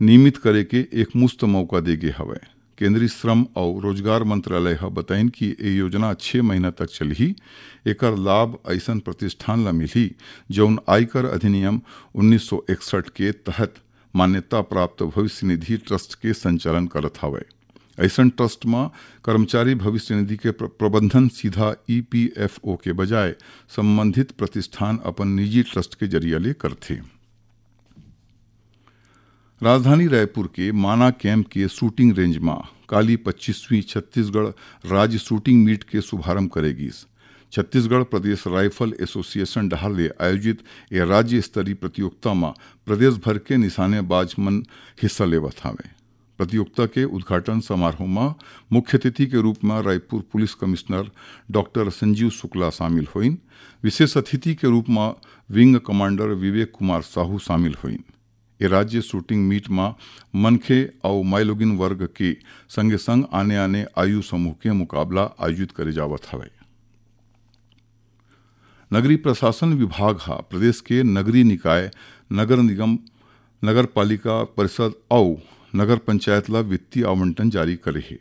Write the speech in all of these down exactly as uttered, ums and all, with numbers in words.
नियमित करे के एक मुश्त मौका दे गे हवय। केंद्रीय श्रम अउ रोजगार मंत्रालय ह बताइन कि ए योजना छह महीना तक चलही। एकर लाभ अइसन प्रतिष्ठान ल मिलही, जउन आयकर अधिनियम उन्नीस सौ इकसठ के तहत मान्यता प्राप्त भविष्य निधि ट्रस्ट के संचालन करत हवय। अइसन ट्रस्ट म कर्मचारी भविष्य निधि के प्र-, प्रबंधन सीधा ईपीएफओ के बजाय संबंधित प्रतिष्ठान अपन निजी ट्रस्ट के जरिया ले करथे। राजधानी रायपुर के माना कैंप के शूटिंग रेंज म काली पच्चीसवीं छत्तीसगढ़ राज्य शूटिंग मीट के शुभारंभ करे गिस। छत्तीसगढ़ प्रदेश राइफल एसोसिएशन डहार ले आयोजित ए राज्य स्तरीय प्रतियोगिता म प्रदेश भर के निशानेबाज मन हिस्सा लेवत हावय। प्रतियोगिता के उद्घाटन समारोह म मुख्य अतिथि के रूप म Raipur police commissioner doctor Sanjeev Shukla शामिल होइन। विशेष अतिथि के रूप म विंग कमांडर विवेक कुमार साहू शामिल होइन। ए राज्य शूटिंग मीट म मनखे अउ माइलोगिन वर्ग के संगे संग आने-आने आयु समूह के मुकाबला आयोजित करे जावत हवय। नगरीय प्रशासन विभाग ह प्रदेश के नगरीय निकाय, नगर निगम, नगर पालिका परिषद अउ नगर पंचायत ल वित्तीय आवंटन जारी करे हे।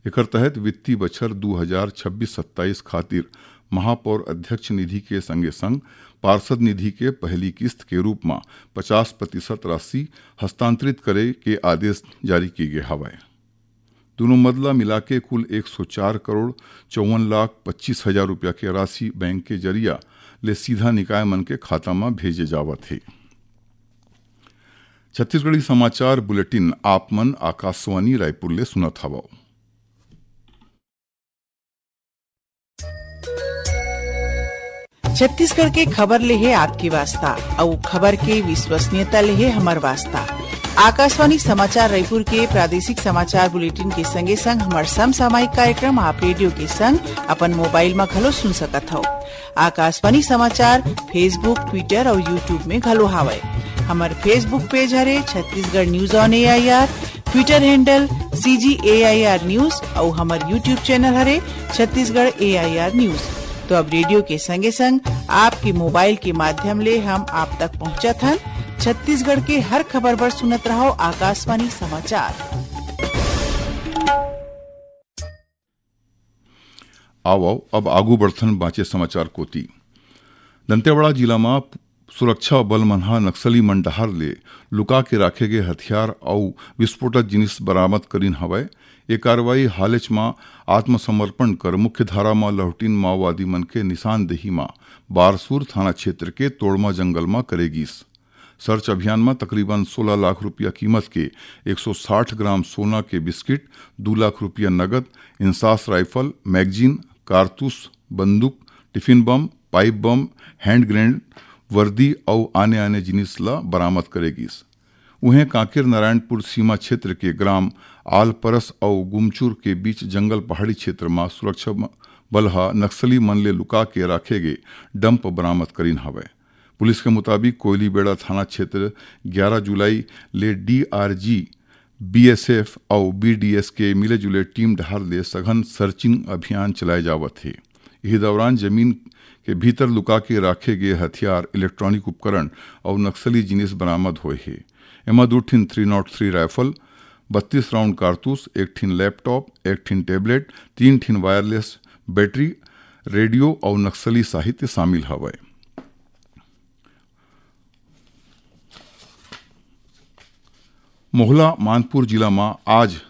एकर तहत वित्तीय बछर दू हजार छब्बीस सत्ताईस खातिर महापौर अध्यक्ष निधि के संगे संग पार्षद निधि के पहली किस्त के रूप म पचास प्रतिशत राशि हस्तांतरित करे के आदेश जारी किए गे हवय। दूनों मद ल मिलाके कुल एक सौ चार करोड़ चौवन लाख पच्चीस हजार रुपया के राशि बैंक के जरिया ले सीधा निकाय मन के खाता म भेजे जावत हे। छत्तीसगढ़ी समाचार बुलेटिन आप मन आकाशवाणी रायपुर ले सुनत हवव। छत्तीसगढ़ के खबर ले हे आपके वास्ता, अउ खबर के विश्वसनीयता ले हे हमर वास्ता। आकाशवाणी समाचार रायपुर के प्रादेशिक समाचार बुलेटिन के संगे संग हमर समसामयिक कार्यक्रम आप रेडियो के संग अपन मोबाइल म घलो सुन सकत हव। आकाशवाणी समाचार Facebook, Twitter अउ YouTube में घलो हावय। हमर Facebook पेज हरे Chhattisgarh news on AIR, Twitter handle CG AIR news अउ हमर YouTube चैनल हरे छत्तीसगढ़ एआईआर न्यूज। तो अब रेडियो के संगे संग आपके मोबाइल के माध्यम ले हम आप तक पहुंचत हन। छत्तीसगढ़ के हर खबर बर सुनत रहो आकाशवाणी समाचार। आवव, अब आगू बढ़थन बांचे समाचार कोति। दंतेवाड़ा जिला म सुरक्षा बल मन ह नक्सली मन डहार ले लुका के राखे गे हथियार अउ विस्फोटक जिनिस बरामद करिन हवय। ए कार्रवाई हालेच म आत्मसमर्पण कर मुख्यधारा म लहुटिन माओवादी मन के निशानदेही म बारसूर थाना क्षेत्र के तोड़मा जंगल म करे गिस। सर्च अभियान म तकरीबन सोलह लाख रुपया कीमत के एक सौ साठ ग्राम सोना के बिस्किट, दू लाख रुपया नगद, इंसास राइफल, मैगजीन, कारतूस, बंदूक, tiffin bomb, pipe bomb, hand grenade, वर्दी अउ आने-आने जिनिस ल बरामद करे गिस। उहें, कांकेर नारायणपुर सीमा क्षेत्र के ग्राम आलपरस अउ गुमचुर के बीच जंगल पहाड़ी क्षेत्र म सुरक्षा म-, बल ह नक्सली मन ले लुका के राखे गे डंप बरामद करिन हवय। पुलिस के मुताबिक, कोयलीबेड़ा थाना क्षेत्र ग्यारह जुलाई ले डीआरजी, बीएसएफ अउ बीडीएस के मिले जुले टीम डहार ले सघन सर्चिंग अभियान चलाए जावत हे। इही दौरान जमीन के भीतर लुका के राखे गे हथियार, इलेक्ट्रॉनिक उपकरण अउ नक्सली जिनिस बरामद होए हे। एमा दू ठिन थ्री नॉट थ्री राइफल, बत्तीस राउंड कारतूस, एक ठिन लैपटॉप, एक ठिन टैबलेट, तीन ठिन वायरलेस बैटरी, रेडियो अउ नक्सली साहित्य शामिल हवय। मोहला मानपुर जिला म आज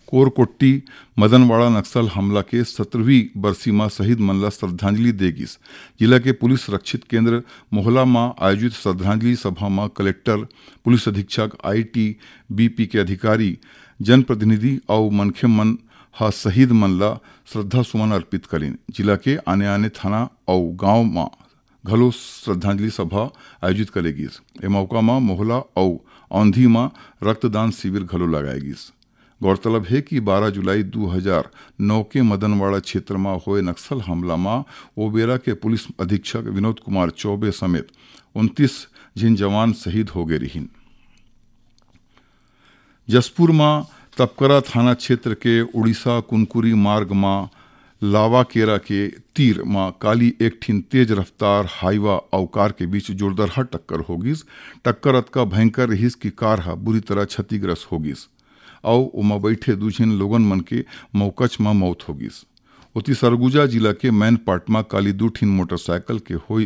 कोरकोट्टी मदनवाड़ा नक्सल हमला के सत्रहवीं बरसी म शहीद मन ल श्रद्धांजलि दे गिस। जिला के पुलिस रक्षित केंद्र मोहला म आयोजित श्रद्धांजलि सभा म कलेक्टर, पुलिस अधीक्षक, आईटीबीपी के अधिकारी, जनप्रतिनिधि अउ मनखे मन ह शहीद मन ल श्रद्धा सुमन अर्पित करिन। जिला के आने-आने थाना अउ गांव म घलो श्रद्धांजलि सभा आयोजित करे गिस। ए मौका म मोहला अउ औंधी म रक्तदान शिविर घलो लगाए गिस। गौरतलब हे कि बारह जुलाई दू हजार नौ के मदनवाड़ा क्षेत्र म होए नक्सल हमला म ओ बेरा के पुलिस अधीक्षक विनोद कुमार चौबे समेत उनतीस झिन जवान शहीद हो गे रिहिन। जशपुर म तपकरा थाना क्षेत्र के उड़ीसा कुनकुरी मार्ग म लावाकेरा के तीर म काली एक ठिन तेज रफ्तार हाईवा अउ कार के बीच जोरदरहा टक्कर हो गिस। टक्कर अतका भयंकर रिहिस कि कार ह बुरी तरह क्षतिग्रस्त हो गिस अउ ओमा बइठे दू झिन लोगन मन के मौकच म मौत हो गिस। ओती सरगुजा जिला के मैनपाट म काली दू ठिन मोटरसाइकिल के होई,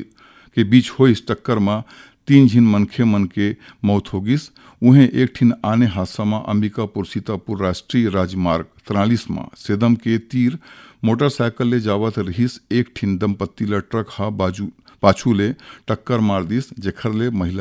के बीच होइस टक्कर म तीन झिन मनखे मन के मौत हो गिस। उहें एक ठिन आने हादसा म अंबिकापुर सीतापुर राष्ट्रीय राजमार्ग तिरालीस म सेदम के तीर मोटरसाइकिल ले जावत रिहिस एक ठिन दंपत्ति ल ट्रक ह बाजू, पाछू ले टक्कर मार दिस, जेखर ले महिला